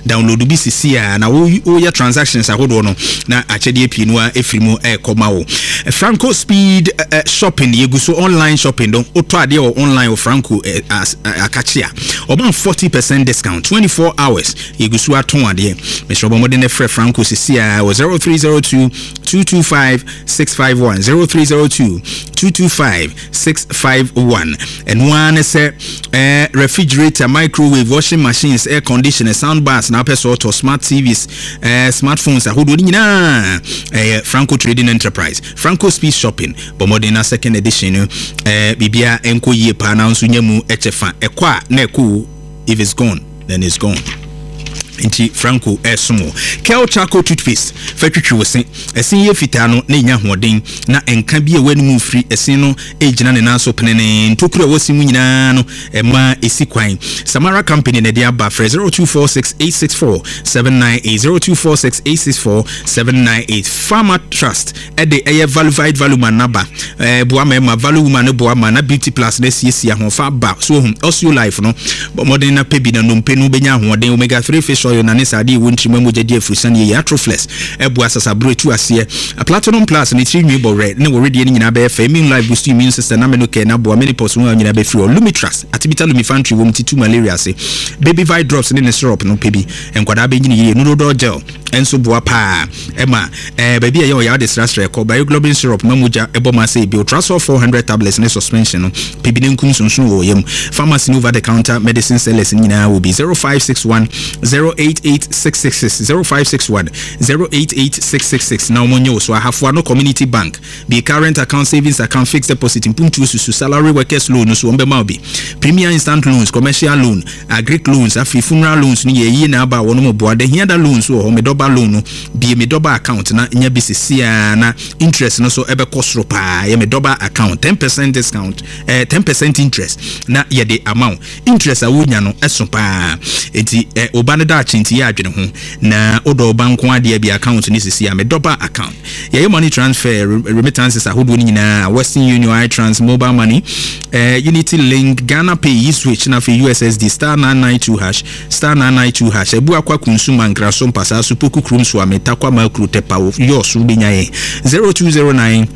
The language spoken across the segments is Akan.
Download bi sisi a na woyɛ transactions ahodoɔ no na akyɛdeɛ pii no a ɛfiri mu ɛrekɔ ma wo. Franco Speed Shopping, yɛgu so online shopping no. Wotɔ adeɛ wɔ online wɔ Franco akakye a, ɔma 40% discount 24 hours. Yɛgu so atɔn adeɛ. Mesrɛ, bɔ mmɔden no frɛ Franco sisi a wɔ 0302 225 651, 0302 225 651. Ɛno ara ne sɛ refrigerator, microwave, washing machines, air conditioner, sound bars na wopɛ sɛ ɔtɔ, smart TVs, smartphones ahodoɔ no nyinaa, ɛyɛ Franco Trading Enterprise. Franco Speed Shopping, bɔ mmɔden na second edition no biribia ɛnkɔ yie paa na nso nya mu ɛkyɛ fa. Ɛkɔ a na ɛkɔ. If it's gone, then it's gone. Nti Franco ɛsom wo. Kel Charcoal Toothpaste, fa twitwi wo se. Ɛsen yɛ fitaa no na ɛnya ahoɔden na ɛnka bi a ɛwɔ anim firi ɛsen no ɛgyina ne nan so penene. Ntokuro a ɛwɔ se mu nyinaa no, ɛma ɛsi kwan. Samara Company na ɛde aba. Frɛ 0246 864 798, 0246 864 798. Pharma Trust ɛde ɛyɛ Valuvite Valuman naba. Boa mmarima, Valu Woman no boa ma na Beauty Plus no asiesie ahoɔfa aba so. Ohun Osteo Life no, bɔ mmɔden na pɛ bi na nnompe no bɛnya ahoɔden. Omega 3 fish oil na ne saa adeɛ ɛwɔ ntirim mogya di afurusane yie. Atroflex ɛboa sasaboro etu aseɛ. Platinum Plus ne tiri nwi bɔwerɛ ne wɔredeɛ no nyinaa bɛyɛ fɛ. Immune Life boost immune system na Menocare na aboa menopause ho a nyinaa bɛfiri hɔ. Lumitrust Artemether Lumifantry wɔ mu ti tu malaria ase. Baby Vite Drops ne ne syrup no, pɛ bi, nkwadaa bɛnyini yie. Nurodol Gel nso boa paa ɛma baabi a ɛyɛ ɔyaw de srasra ɛkɔ. Bioglobin syrup ma mogya ɛbɔ ma sɛ ebi. Ultrasol 400 tablets ne suspension no, pɛ bi ne nkum sonson wɔ yam. Pharmacy ne over the counter medicine sellers nyinaa wɔ bi. 0561 088 666, 0561 088 666 na wɔn nyɛ wɔ so. Ahafoa no Community Bank bi, current account, savings account, fixed deposit, mpuntuo susu, salary workers loan no so wɔn bɛma wo bi, premier instant loans, commercial loan, agric loans, afei funeral loans no yɛ yie na aba a wɔn mo boa da hia da loans wɔ hɔ. Medɔba loan no bie, Medɔba account na nya bi sisiaa na interest no so ɛbɛkɔ soro paa. Yɛ Medɔba account, 10% discount, 10% interest na yɛde ama wo. Interest a wonya no ɛso paa, nti ɔba no daakye nti yɛ adwene ho na wodɔ ɔba nko adeɛ bi account no sisi a. Medɔba account, yɛyɛ money transfer, remittances ahodoɔ no nyinaa, Western Union, iTrans, mobile money, Unity Link, Ghana Pay, eSwitch na afei USSD, *992#, *992#. Abu akwa kunsu mankra so mpasaa so poku kurom so ame takwa makuro tɛpa yɔ so wobɛnya yɛn 0209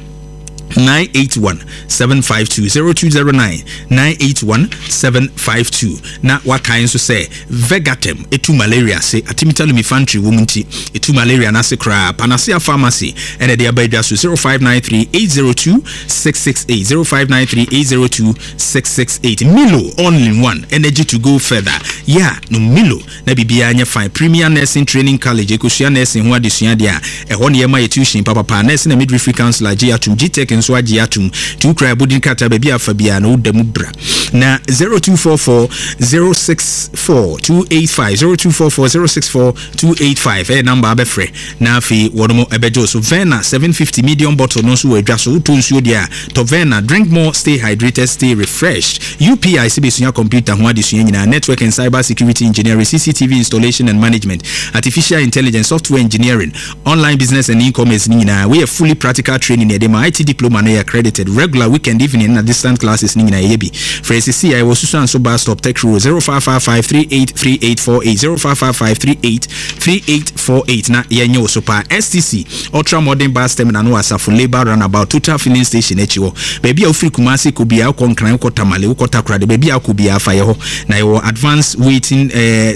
981 752, 0209 981 752. Na wakae nso sɛ Vegatem ɛtu malaria ase. Artemether Lumifantry wɔ mu nti ɛtu malaria no ase koraa. Panacea Pharmacy ɛna ɛde aba adwa so. 0593 802 668, 0593 802 668. Milo all in one, energy to go further. Yeah, no Milo na biribiara nyɛ fine. Premier Nursing Training College, ɛkɔsua nursing ho adesua deɛ a, ɛhɔ ne yɛma yɛ tuition papapa. Nursing and Midwifery Council agye atom, GTEC nso agye atom. Nti wokura abodin krataa, baabi a afa biara na woda mu bra. Na 0244 064 285, 0244 064 285 ɛyɛ number abɛfrɛ na afei wɔn ɛbɛgye wo so. Verna 750 medium bottle no nso wɔ adwa so. Wotɔ nsuo deɛ a, tɔ Verna. Drink more, stay hydrated, stay refreshed. UPI sɛ bɛsua computer ho adesua nyinaa, network and cyber security engineering, CCTV installation and management, artificial intelligence, software engineering, online business and e-commerce ne nyinaa. Woyɛ fully practical training na yɛde ma. IT diploma no yɛ accredited. Regular, weekend, evening na distant classes ne nyinaa yɛyɛ bi. Frɛ sisi a ɛwɔ Susuanso bus stop, Tech Road, 0555 383848, 0555 383848 na yɛnyɛ wo so paa. STC Ultra Modern Bus Terminal no wɔ Asafo Labour Runabout, Total Filling Station akyi hɔ. Baabi a wofiri Kumase kɔ biara, wokɔ Nkran, wokɔ Tamale, wokɔ Takoradi, baabi a wokɔ biara fa yɛ hɔ. Na yɛwɔ advanced waiting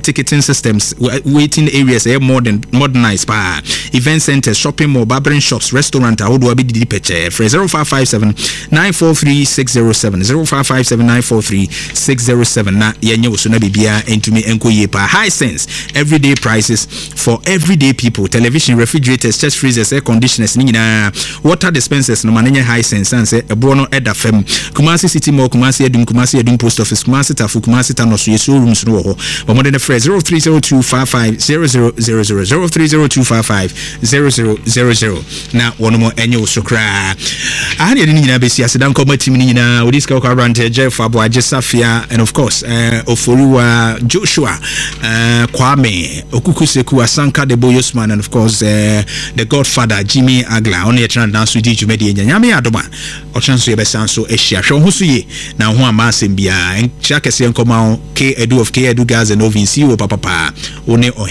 ticketing systems, waiting areas ɛyɛ modern, modernized paa, event centers, shopping mall, barbering shops, restaurant ahodoɔ abɛdidi pɛkyɛɛ. Frɛ 0557 943 607, 0557 943 607 na yɛnyɛ wo so na biribiara ntumi nkɔ yie paa. Hisense, everyday prices for everyday people. Television, refrigerators, chest freezers, air conditioners ne nyinaa, water dispensers no, ma no nyɛ Hisense sane sɛ ɛboɔ no ɛda fam. Kumasi City Mall, Kumasi Adum, Kumasi Adum Post Office, Kumasi Tafo, Kumasi Tanoso, yɛ showrooms no wɔ hɔ. Bɔ mmɔden no frɛ 0302 55 00 00, 0302 55 00 00 na wɔnom ɛnyɛ wo so koraa. Aha ne yɛde no nyinaa bɛsi. Aseda nkɔma team no nyinaa, wɔde sika kɔ aberantɛ Jeff Aboagye Safia and of course Oforiwa Joshua, Kwame Okukuseku Asanka de Boyosman and of course the Godfather Jimmy Agla. Ɔno yɛtena dena so di dwumadie nya. Nyame adom a, ɔkyena nso yɛbɛsan so ahyia. Hwɛ wo ho so yie na wo ho amma asɛm biara. Nkyia kɛseɛ nkɔma wo K Edu of K Edu Gas and Oven, CEO papapaa, wo ne ɔhema.